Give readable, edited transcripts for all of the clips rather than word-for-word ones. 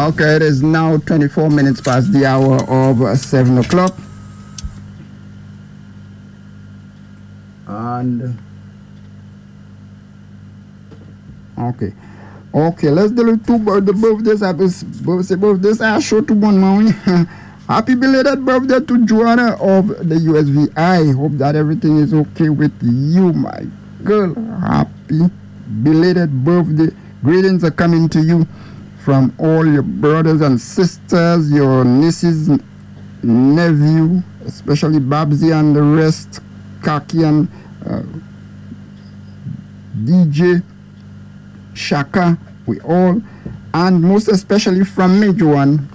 Okay, it is now 24 minutes past the hour of 7 o'clock. And okay, let's do two the birthdays. Happy birthdays. I show to one mommy. Happy belated birthday to Joanna of the USVI. Hope that everything is okay with you, my girl. Happy belated birthday. Greetings are coming to you from all your brothers and sisters, your nieces, nephew, especially Babsy and the rest, Kaki and DJ, Shaka, we all, and most especially from me, Joanne.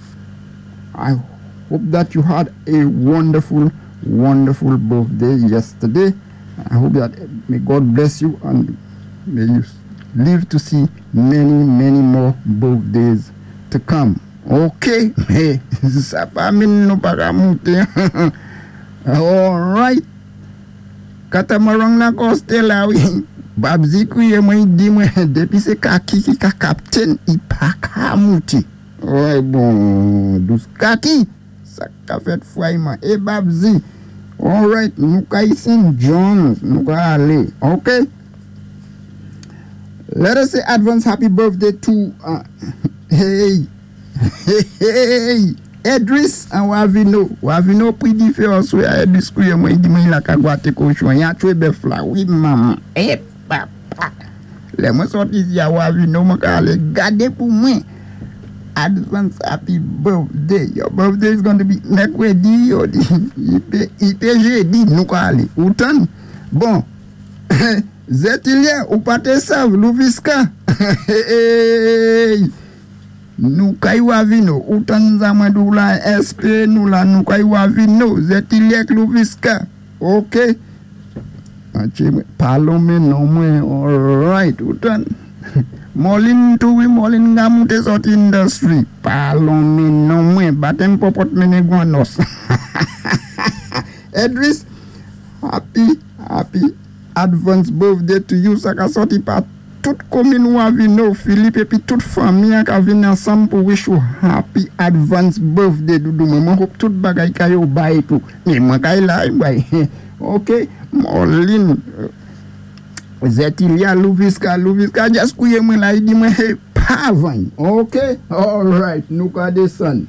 I hope that you had a wonderful, wonderful birthday yesterday. I hope that may God bless you and may you live to see many, many more birthdays to come. Ok, mé sa pa minn nou pa ka mouté. All right. Katamarang la kosté la wi. Babsy kwiyé mwen, i di mwen dépi sé Kaki ki ka captain, i pa ka mouté. Ouais, bon, dous Kaki, sa ka fèt fwayman. É Babsy, all right, nou kay St. John's, nou ka alé. Ok? Let us say advance happy birthday to, hey, hey, hey, Edris and Wavino. Wavino pri difé answè a. Edris kwiyé mwen, i di mwen la ka gwaté kochon. Ya twé bèf la, wi manman. Eh papa. Lè mwen sòti isi a Wavino, mwen ka alé gadé pou mwen. Advance happy birthday. Your birthday is going to be mèkwédi, yo di. I pé jédi, nou ka alé. Ou tann? Bon. Zetilye, ou pa té sav, Louviska. Hey! Nou kay Wavino, ou tann sa mwen di la SP, nou la nou kay Wavino, Zetilye Louviska. Ok. Pa lonmen non mwen, alright, ou tann. Molin tou, wi, Molin ga mouté sòti industry. Pa lonmen non mwen, batèm pòpòt mennen gwanòs. Edris, happy, happy advance birthday to you. Sa ka sòti pa tout komin Wavino, Philippe épi tout fanmi an ka vin ansanm pou wish you happy advance birthday, doudou mwen. Mwen hope tout bagay ka yo bay tou. Mé mwen kay la, bay. Ok, Molin, Zetilia, Louviska, Louviska just kwiyé mwen la, i di mwen hey, pa vany. Ok, alright, nou ka désann.